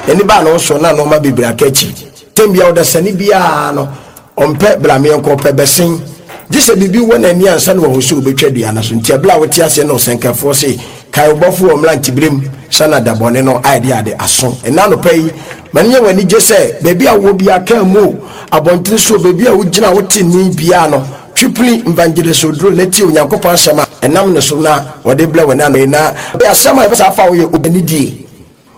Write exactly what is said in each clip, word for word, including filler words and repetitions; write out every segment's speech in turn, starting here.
N'ani baa ne ho so na nneɛma bebree aka akyi. Tɛm bia ɔdasani biara no, ɔmpɛ brameɛnkɔ, ɔpɛ bɛsen. Gye sɛ biribi wɔ n'ani ansa na wahu sɛ wobɛtwa dua no so. Nti ɛberɛ a wote aseɛ no, ɔsɛnkafoɔ se, kae wobɔfo wɔ mmeranteberɛm sɛ na dabɔne no ayɛ de ade aso. Ɛna anɔpa yi, ma no nyɛ w'ani gye sɛ baabi a wowɔ biara, kaa mu o, abɔntene so, baabi a wogyina wote nni biara no, twipili Evangelist Oduro na tie Onyankopɔn asɛm a ɛnam ne so na wɔde brɛ wɔ ne na asɛm a ɛbɛ saa fa wo yɛ obanidie.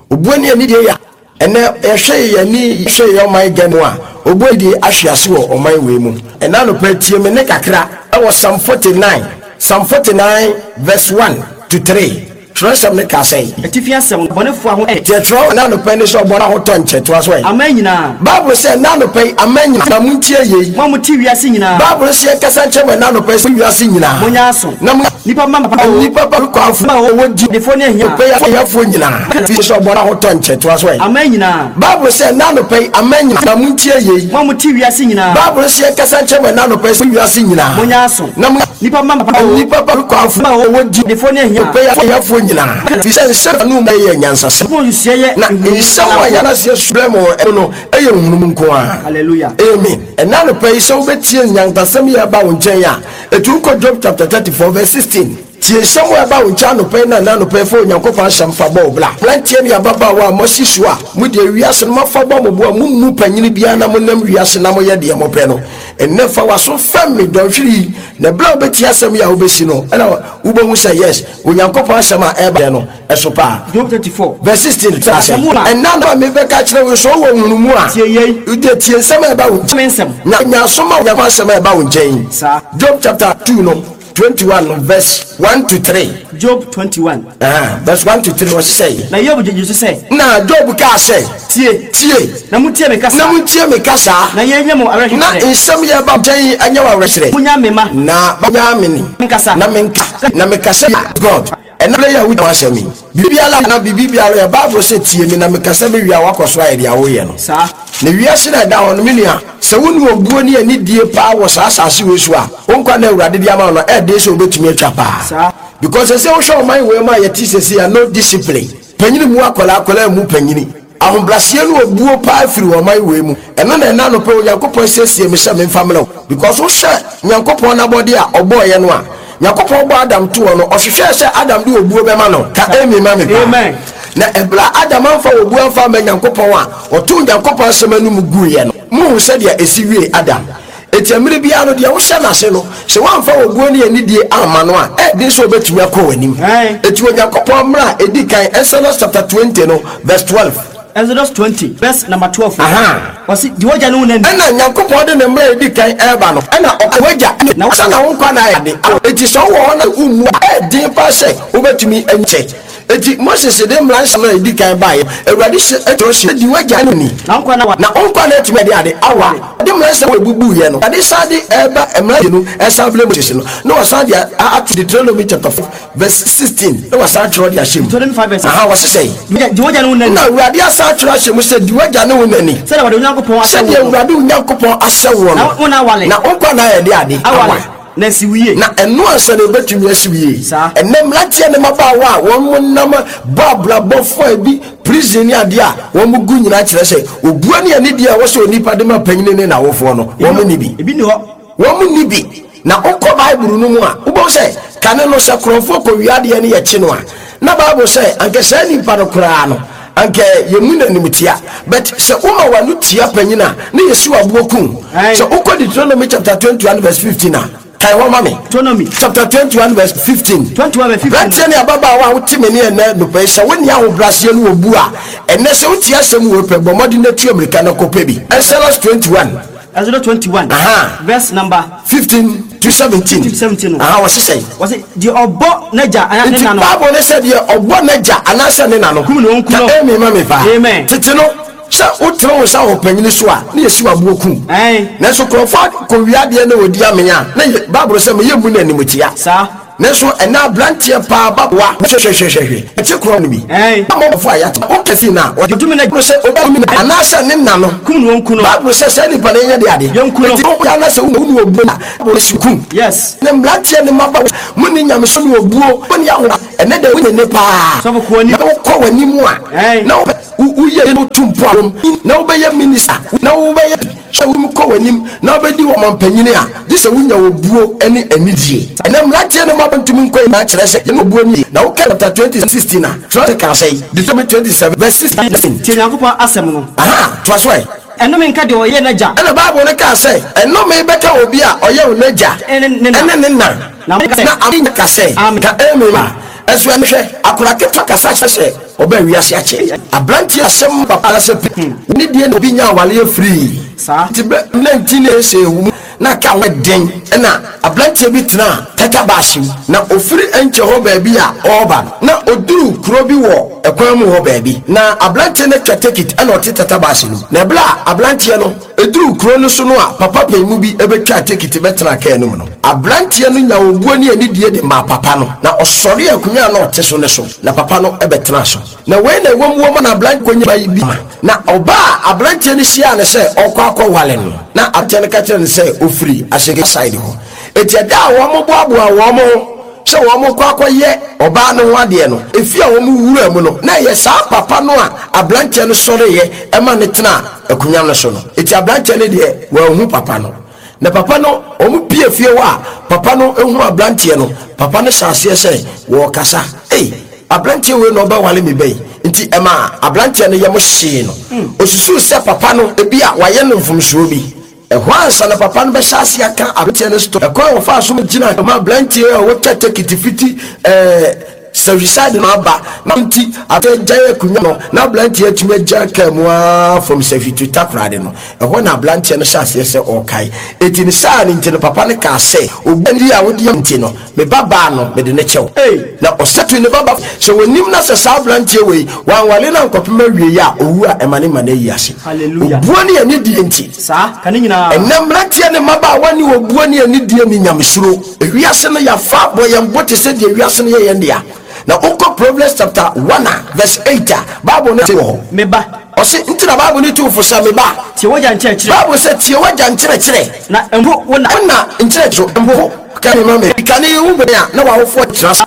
Obuo ne anidie yɛ ɛnɛ yɛhwɛ yɛn ani, yɛhwɛ yɛn ɔman Ghana mu a, obuo anidie ahwe ase wɔ ɔman wei mu. Ɛna anɔpa, tie me ne kakra ɛwɔ Psalm forty-nine, Psalm forty-nine verse one to three. Twerɛsɛm ne ka sɛn? Atifi asɛm, bɔnefoɔ ho ɛ. Tiɛ twerɛ ɛna anɔpa ni sɛ ɔbɔne ahotɔ nkyɛ toa so ɛ. Aman nyinaa. Bible sɛ ɛna anɔpa yi, aman nyinaa na montie yei. Mo a mote wiase nyinaa. Bible sɛ yɛkasa nkyerɛ mo ɛna anɔpa yi sɛ wiase nyinaa monyɛ aso. Na mo nipa ma papa o. Nipa ba kwanfo a wɔwɔ di adefoɔ ne ahia. Pɛ ahiafoɔ nyinaa fi sɛ ɔbɔne ahotɔ nkyɛ toa so ɛ. Aman nyinaa. Bible sɛ ɛna anɔpa yi, aman nyinaa na montie yei. Mo a mote wiase nyinaa. Bible sɛ yɛkasa nkyerɛ mo ɛna anɔpa yi sɛ wiase nyinaa monyɛ aso. Na mo nipa ma papa o. Nipa ba kwanfo a wɔwɔ di adefoɔ ne ahia. Pɛ ahiafoɔ nyinaa fi sɛ nsɛm no mu yɛ nyansasɛm. Mo nsusuɛ yɛ na nsɛm a yɛn aseɛ subrɛ mo ɛno no ɛyɛ nhunumu nko a. Hallelujah. Amen. Ɛna anɔpa yi, sɛ wobɛtie nyansasɛm yɛ ɛba wo nkyɛn a, ɛtu kɔ Job chapter thirty-four verse sixteen. Tie nsɛm a ɛba wo nkyɛn anɔpa yi, na ɛna anɔpa yi fa Onyankopɔn asɛm fa bɔ wo bra. Mmeranteɛ ne ababaawa a moasi so a mode wiase no moafa bɔ mo bo a mommu panyini biara na monam wiase na moyɛ deɛ mopɛ no, ɛnnɛ fa w'aso fam me dɔnhwere yi, na ɛberɛ a wobɛtie asɛm yi a wobɛsi no, ɛna wobɛhu sɛ yes, Onyankopɔn asɛm a ɛba no ɛso paa. Job thirty-four verse sixteen sɛ Asɛm a- ɛna na mebɛka kyerɛ wo sɛ wowɔ nhunumu a, tie yei. Wode tie nsɛm a ɛba wo me nsɛm. Na nyaso ma Onyankopɔn asɛm a ɛba wo nkyɛn. Saa. Job chapter two no, twenty-one no, verse one to three. Job twenty-one. Ah, verse one to three, wɔse sɛ na Yob gyegye so sɛ, na Job kaa sɛ, tie. Tie. Na motie me kasa. Na montie me kasa. Na yɛnyɛ mo na awerɛhyekyerɛ. Nsɛm yɛ ba nkyɛn ɛnyɛ wɔ awerɛhyerɛ. Monya me ma na nya me ni menkasa. Na menka na mekasa God ɛna bere yɛ a wogyina asɛm yi, biribiara na biribiara yɛ Bible sɛ tie me na mekasa me wie a, wakɔ so ayɛ deɛ woyɛ no. Saa. Na wiase na ɛda hɔ no, me nua, sɛ wo ne obuo ne anidie paa wɔ saa asase wei so a, wo nkwa na Awurade de ama wo no, ɛɛden sɛ wobɛtumi atwa paa. Saa. Because sɛ wohwɛ ɔman wei mu a yɛte sɛsi a, no discipline, panyini mu akwadaa, akwadaa mu panyini, ahobraseɛ no obuo paa firi ɔman wei mu. Ɛno na ɛna nopɛ Onyankopɔn siesie me sɛ memfa mmerɛ wo, because wohwɛ Nyankopɔn n'abɔde a ɔbɔɔyɛ no a, Nyankopɔn bɔ Adam toɔ no, ɔhwehwɛɛ sɛ Adam de obuo bɛma no. Ka amen ma me paa. Amen. Na ɛberɛ a Adam amfa obuo amfa ama Nyankopɔn a ɔtoo Nyankopɔn asɛm anom guiɛ no, mohu sɛdeɛ ɛsi wie Adam. Enti mmerɛ biara no, deɛ wohyɛ n'ase no, sɛ woamfa obuo ne anidie amma no a, ɛɛden sɛ wobɛtumi akɔ w'anim. Aye. Enti Onyankopɔn mmerɛ a ɛdi kan, Exodus chapter twenty no verse twelve. Exodus twenty verse number twelve. Aha. Wɔsi di wagya ne wo nani. Ɛna Nyankopɔn de ne mmerɛ a ɛdi kan ɛreba no, ɛna ɔka wagya Na sɛ na wo nkwa na ayɛ ade. Enti sɛ wowɔ hɔ na wommu a, ɛɛden paa sɛ wobɛtumi ankyɛ. Enti Moses de mmara nsɛm a ɛdi kan baeɛ, Awurade hyɛ ɛtwerɛ hyɛ di wagya ne ni na nkwa na wa na wo nkwa na atumi ade ade awa. Ɔde mmara nsɛm a ɛbubuiɛ no, Awurade san de ɛba mmara mmienu ɛsan brɛ Moses no, na wɔsan de ato Deuteronomy chapter five verse sixteen, na wɔsan twerɛ de ahyɛ mu. Deuteronomy five verse aha, wɔse sɛ di wagya ne wo nani. Na Awurade asan atwerɛ ahyɛ mu sɛ di wagya ne wo nani sɛdeɛ wɔde Onyankopɔn ahyɛ sɛdeɛ wo no. Awurade wo Nyankopɔn ahyɛ woɔ na no wo na awale na wo nkwa na ayɛ de ade awale na si wo yie. Na ɛno ansa na ɛbɛtumi asi wo yie. Saa. Ɛnɛ mmeranteɛ ne mmabaawa a wɔn mo nam bɔ abrabɔfoɔ a bi prison ne adeɛ a wɔn mo gu nyinaa kyerɛ sɛ obua ne anidie a ɛwɔ sɛ onipa de ma panyini ne n'awofoɔ no, wɔn mo ni bi. Ebi ni hɔ. Wɔn mo ni bi. Na wokɔ Bible no mu a, wobɛhu sɛ kane no, sɛ korɔmfoɔ kɔ wiadeɛ no yɛkye no a, na Bible sɛ anka saa nipa no koraa no, anka yɛmu n'anim tia. But sɛ woma w'ano tia panyin a, ne yɛsi w'aboɔ kum. Aye. Sɛ wokɔ Deuteronomy chapter twenty-one verse fifteen a, kae hɔ ma me. Deuteronomy chapter twenty-one verse fifteen. twenty-one verse fifteen. Branteɛ ne ababaawa a wote me ne ɛnɛ nopɛ yi, sɛ wonni ahobraseɛ no wɔ bu a, ɛnɛ sɛ wotie asɛm wɔ pɛ, bɔ mmɔden na tu amirika no kɔpɛ bi. Exodus twenty-one Exodus twenty-one Aha. verse number fifteen to seventeen. fifteen to seventeen no. Aha, wɔse sɛ wɔsi deɛ ɔbɔ n'agya anaa ne nti na no Bible ne sɛ deɛ ɔbɔ n'agya anaasɛ ne na no kum ne ɔnku no. Ka amen ma me paa. Amen. Tete no, sɛ wotene wo nsa wɔ panyini so a, ne yɛsi w'aboɔ kum. Ɛn. Nanso kurɔfoɔ kɔwia adeɛ na wɔdi amenya a, na yɛ Bible sɛ meyɛ mu no animtia. Saa. Nanso ɛna aberanteɛ paa ba wa hwehwehwehwɛ ɛte korɔ no bi Ɛn. amɔfo a yɛate wokɛsi no a ɔde Ɔtumi na- no sɛ ɔbɛmi anaasɛ ne na no Kum no, wɔnku no. Bible sɛ sɛ nipa no yɛnyɛ de adeɛ. Yɛnku no. Enti woyɛ anasɛ wone obuo a Bible sɛ kum. Yes. Ne mmeranteɛ ne mmaba, mo ne nyameso ne obuo mo ne aho ɛnɛ dɛ wonyɛ ne paa. Sɔfo, kɔ anim. Na wokɔ w'anim a Ɛn. na wopɛ- wo- woyɛ no tu mpo a na wobɛyɛ minister na wobɛyɛ sɛ womu kɔ w'anim na wobɛdi wɔ mampanyini a, gye sɛ wonya obuo ne anidie. Ɛnɛ mmeranteɛ no mmaba ntumi nkɔ nyinaa kyerɛ sɛ yɛne obuo nie. Na woka chapter twenty sixteen a kyerɛ sɛ ka sɛ Deuteronomy twenty-seven verse sixteen. Tie Nyankopɔn asɛm no. Aha, toa so ɛ. Ɛnome nka deɛ ɔyɛ n'agya Ɛna Bible no kaa sɛ ɛnome bɛka obi a ɔyɛ wo n'agya ɛne ne na. Ɛne ne na. Na mo ka sɛ- Na ame ka sɛ Amen. ka amen a ɛso ɛno hwɛ akora ketewa kasa kyerɛ sɛ ɔbɛ wiase akyɛ aberanteɛ asɛm papa sɛ pe ne deɛ na obi nya awaleɛ firii. Saa. Nti bɛ nineteen ɛsɛ ewu mu na ka ho den, ɛna aberanteɛ bi tena tata baasi mu na ofiri nkyɛn hɔ baabi a ɔreba no, na oduru kuro bi wɔ ɛkwan mu hɔ baabi na aberanteɛ no atwa ticket, ɛna ɔte tata baasi no mu. Na ɛbɛrɛ a aberanteɛ no eduru kuro no so no a papa panyin bi ebɛtwa ticket bɛtena kaa no mu no, aberanteɛ no nya obuo ne anidie de maa papa no na ɔsɔre akonnwa a na ɔte so ne so na papa no ɛbɛtena so. Na wei na ɛwɔ mu wɔ mu na aberanteɛ kɔnya ba yi bi ma na ɔbaa aberanteɛ no hyia no sɛ ɔkɔ akɔwale no, na aberanteɛ no ka kyerɛ no sɛ ofiri ahyɛge side hɔ. Eti ɛda a wɔn boaboa wɔn ho sɛ wɔn kɔ akɔyɛ ɔbaa no ho adeɛ no, efi a wɔn wura mu no na ɛyɛ saa papa no a aberanteɛ no sɔreyɛ ɛma ne tena akonnwa no so no. Eti aberanteɛ no deɛ, wɔnhu papa no. Na papa no wɔn pie fie hɔ a papa no ehu aberanteɛ no, papa no hyɛ aseɛ sɛ wɔrekasa, ei, aberanteɛ wei na ɔbɛwale mi bɛyi. Nti ɛma aberanteɛ no yam hyee no, osusu sɛ papa no ebi a wayɛ no mfomsoɔ bi. Ɛhɔ ansa na papa no bɛhyɛ ase aka aberanteɛ no so ɛkwan a wɔfa so gyina ma aberanteɛ a wɔtwa tekiti fiti ɛɛ sɛwisade no aba na nti aberanteɛ gyae akonnwa no na aberanteɛ atumi agya kaa mu aa fam Sɛhwi to Takorade no. Ɛhɔ na aberanteɛ no hyɛ aseɛ sɛ ɔrekae. Eti ne saa ne nti no, papa no kaa sɛ obi a wodi nti no, me ba baa no mede ne kyɛw. Ei. Na ɔsɛto ne baba sɛ wɔnim na sɛ saa aberanteɛ wei wanwale no ankɔpem awie yi a owu a ɛma ne ma no ayi ase. Hallelujah. Obuo ne anidie nti. Saa ka ne nyinaa. Ɛnɛ mmeranteɛ ne mmabaawa ne obuo ne anidie ne nyamesuro, ewiase no yɛafa bɔ yɛn bo te sɛ deɛ wiase no yɛ yɛn dea. Na wokɔ Proverbs chapter one a verse eight a, Bible no te wɔ hɔ. Me ba, Ɔse nti na Bible no tu fo sɛ, me ba, tie w'agya nkyerɛkyerɛ. Bible sɛ tie w'agya nkyerɛkyerɛ. Na mpo wo na. Wona nkyerɛkyerɛ mpo ka ne ma me kane wo bɛn a na w'awofoɔ tena sa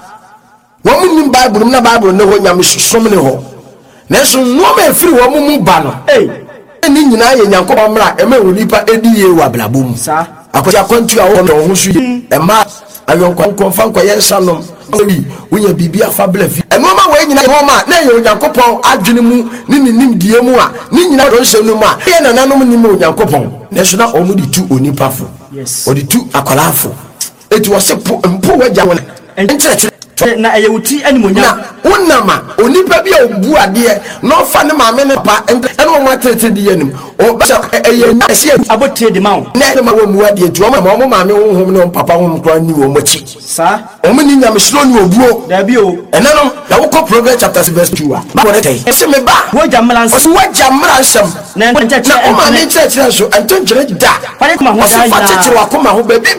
wɔn mu nim Bible mu na Bible ne hɔ, nyamesom ne hɔ, nanso nneɛma a ɛfiri wɔn mu ba no Ei. ne nyinaa yɛ Nyankopɔn mmara ɛma wɔ nipa ɛdi yie wɔ abrabɔ mu. Saa. Akwasi akwantu a wɔn wɔn ho so yie, ɛma ayɔnkɔ nkɔmfa nkɔyɛ nsa nom wi wonya biribi afa bla fi. Ɛnneɛma wɔ nyinaa yɛ nneɛma a na ɛyɛ Onyankopɔn adwene mu ne ne nimdeɛ mu a ne nyinaa dɔ nsɛm no mu a ɛyɛ nananom nim Onyankopɔn, nanso na wɔn de tu onipa fo. Yes. Wɔde tu akwadaa fo. Eti wɔse po mpo wagya wɔn nkyerɛkyerɛ. Na ɛyɛ wo ti animonyam. Na wonam a onipa bi a obu adeɛ na ɔfa ne maame ne papa ɛne wɔn atenetene di yɛ nim ɔba sɛ ɛyɛ nya ɛsɛ abɔtire de ma wo. Na ɛne ma wɔn mu adeɛ nti wɔn ma wɔn maame honhom ne wɔn papa honhom koraa ni wɔn akyi. Saa. Wɔn ni nyamesuro ne obuo. Daabi o. Ɛnɛ no na wokɔ Proverbs chapter six verse two a, Bible ne tɛ ɛsɛ, me ba, w'agya mmara nsɛm. Ɔsɛ wagya mmara nsɛm. Na na nkyerɛkyerɛ ɔma ne ɛntene. nkyerɛkyerɛ nso ɛnto nkyerɛ da. Fa ne koma ho Ɔsɛ daa fa nyinaa. kyekyere wakoma ho baabi.